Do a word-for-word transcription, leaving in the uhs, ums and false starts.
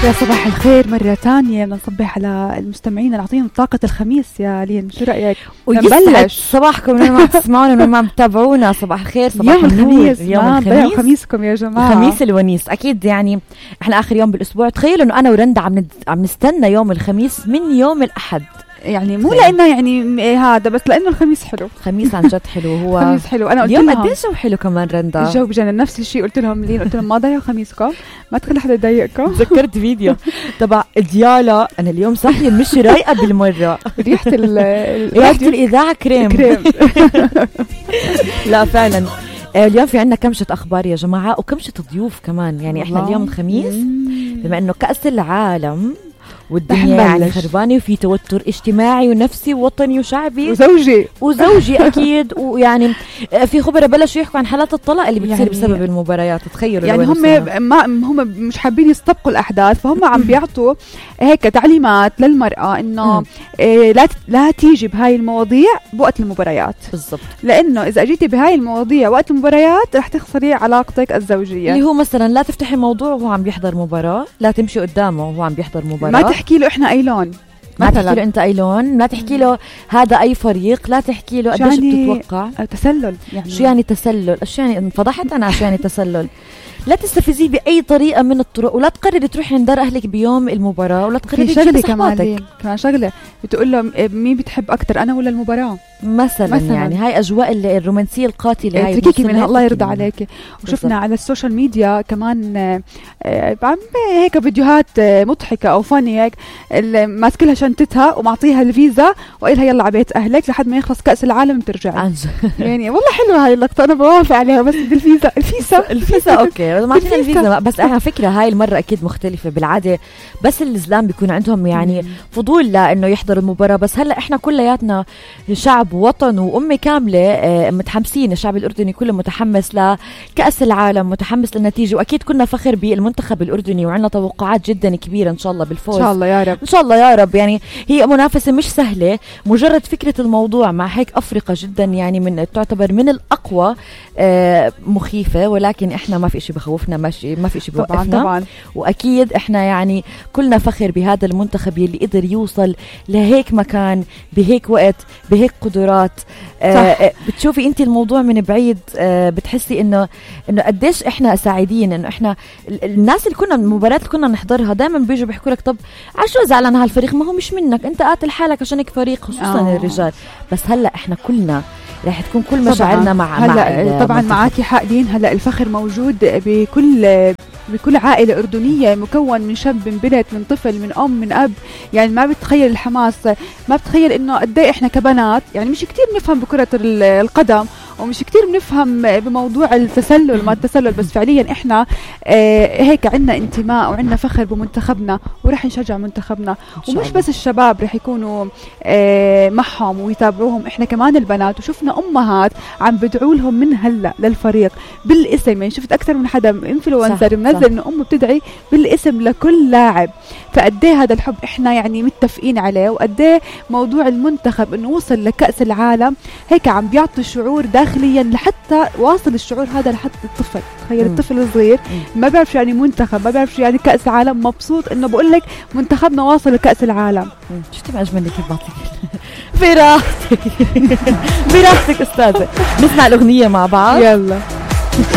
يا صباح الخير مرة تانية. بدنا نصبح على المستمعين، نعطيهم طاقة الخميس. يا لين شو رأيك؟ ويسعد صباحكم من ما تسمعونا من ما تتابعونا. صباح الخير، صباح يوم الخميس. يوم الخميس خميسكم يا جماعة، الخميس الونيس. أكيد يعني إحنا آخر يوم بالأسبوع. تخيلوا إنه أنا ورندا عم ند... عم نستنى يوم الخميس من يوم الأحد، يعني مو لانه يعني هذا بس لانه الخميس حلو. خميس عن جد حلو. هو خميس حلو. انا قلت اليوم لهم قديش جو حلو كمان رندا. الجو بجنن. نفس الشيء قلت لهم لين، قلت لهم ما ضيعوا خميسكم، ما تخلي حدا يضايقكم. تذكرت فيديو تبع ديالا، انا اليوم صاحيه مش رايقه بالمره. ريحه ال ريحه الاذاعه كريم كريم. لا فعلا اليوم في عنا كمشة أخبار يا جماعة، وكمشة ضيوف كمان. يعني إحنا اليوم الخميس بما إنه كأس العالم والدنيا يعني خربانة، وفي توتر اجتماعي ونفسي ووطني وشعبي وزوجي وزوجي أكيد. ويعني في خبراء بلشوا يحكوا عن حالات الطلاق اللي بتصير يعني بسبب المباريات. تخيلوا يعني هم ما هم مش حابين يستبقوا الأحداث، فهم عم بيعطوا هيك تعليمات للمرأة إنه إيه لا لا تيجي بهاي المواضيع بوقت المباريات. بالضبط، لأنه إذا جيتي بهاي المواضيع وقت المباريات رح تخسري علاقتك الزوجية. اللي هو مثلا لا تفتحي موضوع وهو عم بيحضر مباراة، لا تمشي قدامه وهو عم بيحضر مباراة، ما تحكي له إحنا أي لون، ما تحكي له أنت أي لون، لا تحكي له هذا أي فريق، لا تحكي له قديش بتتوقع. تسلل يعني. شو يعني تسلل؟ شو يعني؟ انفضحت أنا. شو يعني تسلل؟ لا تستفزيه بأي طريقة من الطرق، ولا تقرري تروحي عند أهلك بيوم المباراة، ولا تقرري في شغلة كمان كمان شغلة بتقول له مين بتحب أكتر أنا ولا المباراة مثلا, مثلاً. يعني هاي أجواء الرومانسية القاتلة هاي تركيكي منها الله يرضى عليك. وشفنا على السوشيال ميديا كمان عم هيك فيديوهات مضحكة أو فاني هيك ماسكلها شنطتها ومعطيها الفيزا وقيلها يلا على بيت أهلك لحد ما يخلص كأس العالم ترجع. يعني والله حلوة هاي اللقطة، أنا بوافق عليها. بس الفيزا الفيزا الفيزا أوكي ما عندنا الفيزا. بس أنا فكرة هاي المرة أكيد مختلفة. بالعادة بس الإسلام بيكون عندهم يعني مم. فضول لأنه يحضروا المباراة. بس هلأ إحنا كلياتنا شعب وطن وأمة كاملة متحمسين. الشعب الأردني كله متحمس لكأس العالم، متحمس للنتيجة، وأكيد كنا فخر بالمنتخب الأردني وعندنا توقعات جدا كبيرة إن شاء الله بالفوز. إن شاء الله يا رب، إن شاء الله يا رب. يعني هي منافسة مش سهلة. مجرد فكرة الموضوع مع هيك أفريقيا جدا يعني من تعتبر من الأقوى مخيفة، ولكن إحنا ما في إشي بخوفنا، ماشي ما في إشي بوقفنا طبعا. وأكيد إحنا يعني كلنا فخر بهذا المنتخب يلي قدر يوصل لهيك مكان بهيك وقت بهيك قدرات. آه بتشوفي أنت الموضوع من بعيد، آه بتحسي إنه إنه قديش إحنا سعيدين. إنه إحنا الناس اللي كنا المباريات اللي كنا نحضرها دائما بيجوا بيحكوا لك طب عشو زعلان هالفريق؟ ما هو مش منك، أنت قاتل حالك عشانك فريق، خصوصا أوه. الرجال. بس هلا إحنا كلنا رح تكون كل مشاعرنا مع هلا مع طبعا معاكي حق دين. هلا الفخر موجود بكل بكل عائلة أردنية مكون من شاب من بنت من طفل من أم من أب. يعني ما بتخيل الحماس، ما بتخيل إنه قد إيه إحنا كبنات يعني مش كتير بنفهم بكرة القدم ومش كتير بنفهم بموضوع التسلل ما التسلل. بس فعليا إحنا آه هيك عنا انتماء وعنا فخر بمنتخبنا ورح نشجع منتخبنا. ومش بس الشباب رح يكونوا آه معهم ويتابعوهم، إحنا كمان البنات. وشفنا أمهات عم بدعوا لهم من هلا للفريق بالاسم. يعني شفت أكثر من حدا إنفلونسر منزل إنه أمه بتدعي بالاسم لكل لاعب. فقديه هذا الحب إحنا يعني متفقين عليه، وقديه موضوع المنتخب إنه وصل لكأس العالم هيك عم بيعطي شعور داخليا لحتى واصل الشعور هذا لحتى الطفل. تخيل الطفل الصغير ما بيعرف يعني منتخب، ما بيعرف يعني كأس العالم، مبسوط إنه بقول لك منتخبنا واصل لكأس العالم. شفتي ما أجمل كيف بعطيك براحتك براحتك أستاذة. نسمع الأغنية مع بعض. يلا.